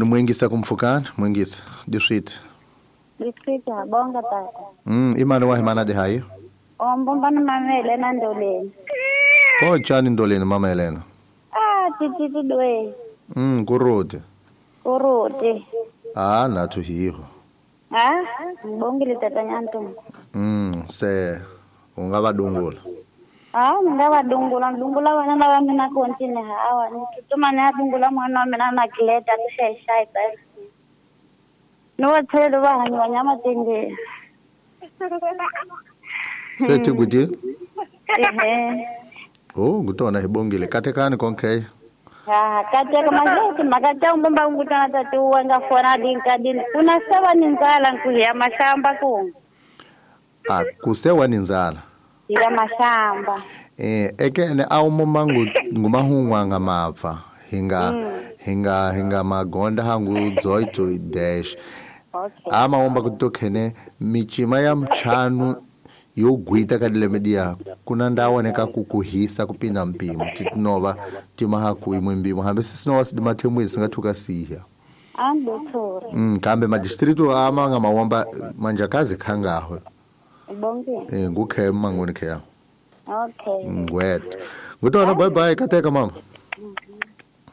Ku ni mwingisa kumpfukani mwingisa diswiti. Diswiti habonga tata. I mani wa himana di hayi? Ombo ni mama Helena Ndoleni. Ko chani Ndoleni mama Helena? Ah, tititi dwe. Kuruti. Kuruti. Ah, nathu hiho. Ah, ngibongile tata Nyantumbu. Se ungavadungula. Ah, ngavadungula, ndungula vana lava mina kontine hawa. Nitutuma ni adungula mwana wa mina na kileta kushayishaya ba. Ni wa tshelo va hanyiwa nyama tenge. Se tiguti? Ehe. Oh, ngutona hibongile. Katekani konke. Ha, kateka mazeti makata umbomba ngutana tatu wanga fona dinka din. Kuna sawa ni nzala nkuya mashamba ku. Ah, kusewa ni nzala. Ya mashamba. Ekene awumoma ngumahungwa ngamapfa hinga hinga hinga magonda hangu dzoito dash. Okay. Amaomba kutokhene michima ya mchanu yogwita kadilemedia kuna ndaoneka kukuhisa kupinda mpimo titinova timahaku imwe mbimo hambe sisinova sidimathemwezi singathuka siya. Andothora. Kambe madistritu ama ngamawomba manjakazi khangaho. Bonke. Ngukhe mangoni khe. Okay. Ngwet. Ngutona bye bye kateka mama.